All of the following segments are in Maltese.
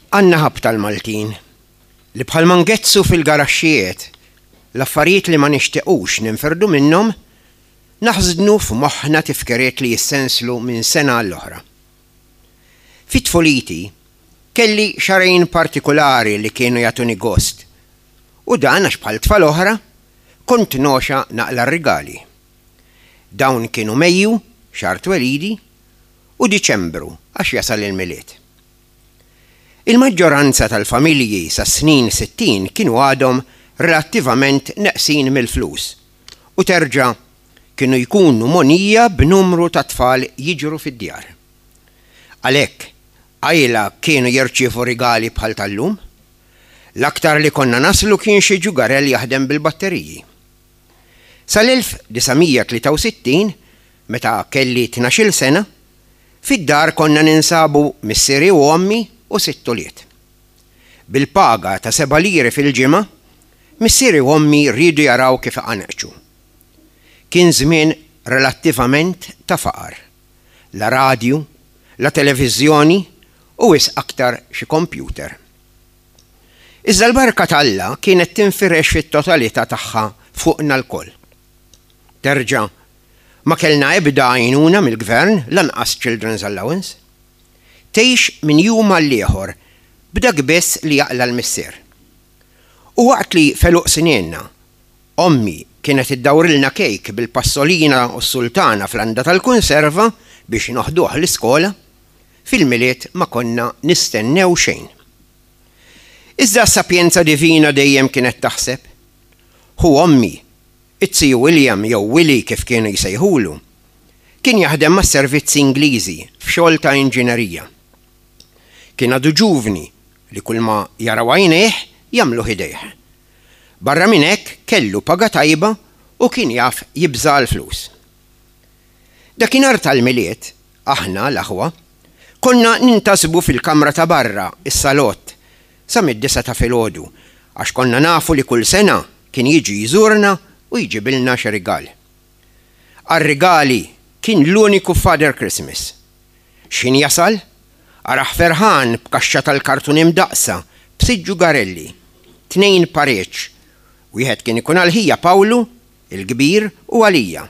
Għandna ħabta l-Maltin li bħalma ngezzu fil-garaxxijiet l-affarijiet li ma nixtiqux ninfirdu minnhom, naħżnu f'moħħna tifkiriet li jissenslu minn sena għall-oħra. Fi tfuliti, kelli xahrejn partikulari li kienu jagħtuni gost u dan għax bħal tfal oħra, kont nogħxa naqla' r-rigali. Dawn kienu Mejju, xahar twelidi, u Diċembru għax jasal il-Milied. Il-maġġoranza tal-familji sas-snin 60 kienu għadhom relattivament neqsin mill-flus u terġa' kienu jkunu mogħnija b'numru ta' tfal jiġru fid-djar. Għalhekk, qajla kienu jirċievu rigali bħal tal-lum. L-aktar li konna naslu kien xi ġugarell jaħdem bil-batteriji. Sal-1963, meta kelli tnax-il sena, fid-dar konna ninsabu missieri u ommi u sitt ulied. Bil-paga ta' seba' liri fil-ġimgħa, missieri u ommi riedu jaraw kif iqanqċu. Kien żmien relattivament ta' faqar. La radju, la televiżjoni u wisq aktar xi kompjuter. Iżda l-barka t'Alla kienet tinfirex fit-totalità tagħha fuqna lkoll. Terġa', ma kellna ebda għajnuna mill-gvern, lanqas children's allowance. Tgħix minn jum għall-ieħor b'dak biss li jaqla' l-missier. U waqt li f'għeluq snienna, ommi kienet iddawrilna kejk bil-passolina u s-sultana fl-għanda tal-kunserva biex noħduh l-iskola, fil-Milied ma konna nistennew xejn. Iżda s-sapjenza divina dejjem kienet taħseb. Ħu ommi, it-ziju William jew Willy kif kienu jsejħulu, kien jaħdem mas-servizzi Ingliżi f'xogħol ta' inġinerija. Kien għadu ġuvni li kulma jaraw għajnejh jagħmluh idejh. Barra minn hekk kellu paga tajba u kien jaf jibża' għall-flus. Dakinhar tal-Milied, aħna, l-aħwa, konna nintasbu fil-kamra ta' barra, is-salott, sa mid-disgħa ta' filgħodu, għax konna nafu li kull sena kien jiġi jżurna u jġibilna xi rigal. Għar-rigali kien l-uniku Father Christmas. X'ħin jasal, arah ferħan b'kaxxa tal-kartun imdaqqsa b'sitt ġugarelli, tnejn pareġġ, wieħed kien ikun għal ħija Pawlu, il-kbir, u għalija.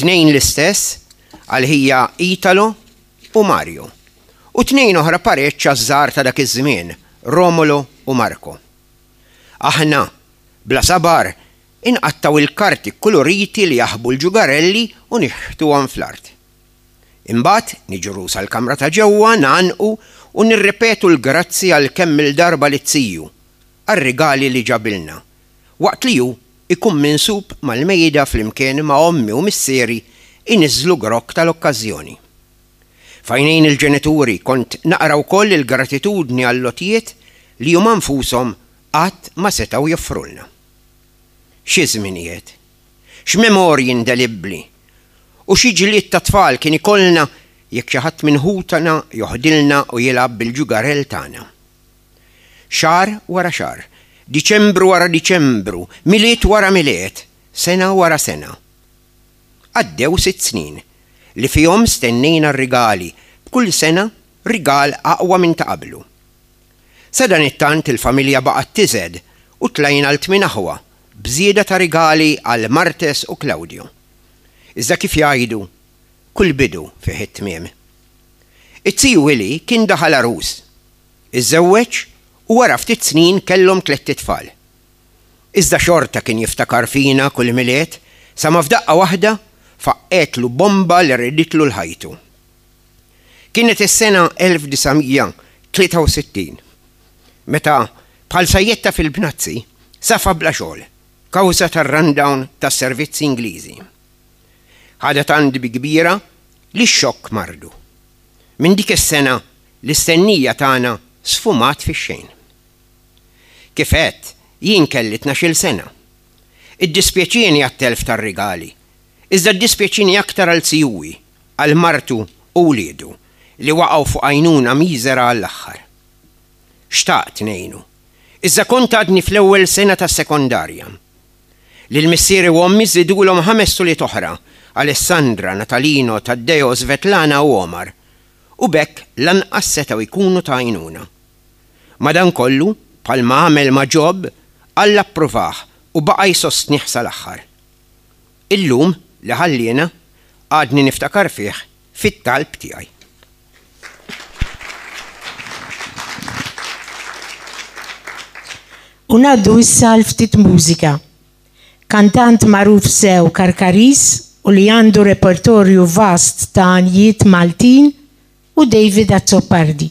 Tnejn l-istess għal ħija Italo u Mario. U tnejn oħra pareġġ għaż-żgħar ta' dak iż-żmien, Romolo u Marco. Aħna, bla sabar, inqattgħu l-karti kkuluriti li jaħbu l-ġugarelli u nixħtuhom fl-art. Imbagħad niġru sal-kamra ta' ġewwa ngħannqu u nirripetu l-grazzi għal kemm-il darba lit-ziju għar-rigali li ġabilna, waqt li hu jkun minsub mal-mejda flimkien ma' ommi u missieri jniżżlu grokk tal-okkażjoni. F'għajnejn il-ġenituri kont naqra wkoll il-gratitudni għall-għotjiet li huma nfushom qatt ma setgħu joffrulna. Xi żminijiet! X'memorji indelibbli! U xi ġlied ta' tfal kien ikollna jekk xi ħadd minn ħutna joħdilna u jilgħab bil-ġugarell tagħna. Xahar wara xahar, Diċembru wara Diċembru, Milied wara Milied, sena wara sena. Għaddew sitt snin, li fihom stennejna r-rigali, b'kull sena rigal aqwa minn ta' qablu. Sadanittant il-familja baqgħet tiżed u tlajna għal tmien aħwa, b'żieda ta' rigali għal Martes u Claudio. Iżda kif jgħidu, kull bidu fih it-tmiem. It-ziju Willy kien daħal għarus. Iżżewweġ u wara ftit snin kellhom tlett itfal. Iżda xorta kien jiftakar fina kull Milied sa ma f'daqqa waħda faqqgħetlu bomba li riditlu l-ħajtu. Kienet is-sena 1963 meta bħal sajjetta fil-bnazzi safa bla xogħol kawża tar-rundown tas-servizzi Ingliżi. Ħadha tant bi kbira li x-xokk mardu. Minn dik is-sena L-istennija tagħna sfumat fix-xejn. Kif għedt, jien kelli tnax-il sena. Iddispjaċieni għat-telf tar-rigali, iżda ddispjaċieni aktar għal zijuwi, għal martu u wliedu li waqgħu fuq għajnuna miżera għall-aħħar. Xtaqt ngħinu, iżda kont għadni fl-ewwel sena tas-sekondarja. Lil missieri u ommi żidulhom ħames ulied oħra, Alessandra, Natalino, Taddeo, Svetlana u Omar, u b'hekk lanqas setgħu jkunu ta' għajnuna. Madankollu, bħalma għamel ma' Ġob, Alla ppruvah u baqa' jsostnih sal-aħħar. Illum, li ħalliena, għadni niftakar fih fit-talb tiegħi. U ngħaddu issa għal ftit mużika. Kantant magħruf sew Karkariż u li għandu repertorju vast ta' għanjiet Maltin hu David Azzopardi.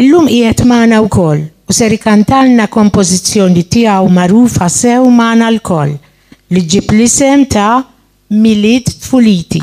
Illum qiegħed magħna wkoll u ser ikantalna kompożizzjoni tiegħu magħrufa sew magħna lkoll li ġġib l-isem ta' Milied Tfuliti.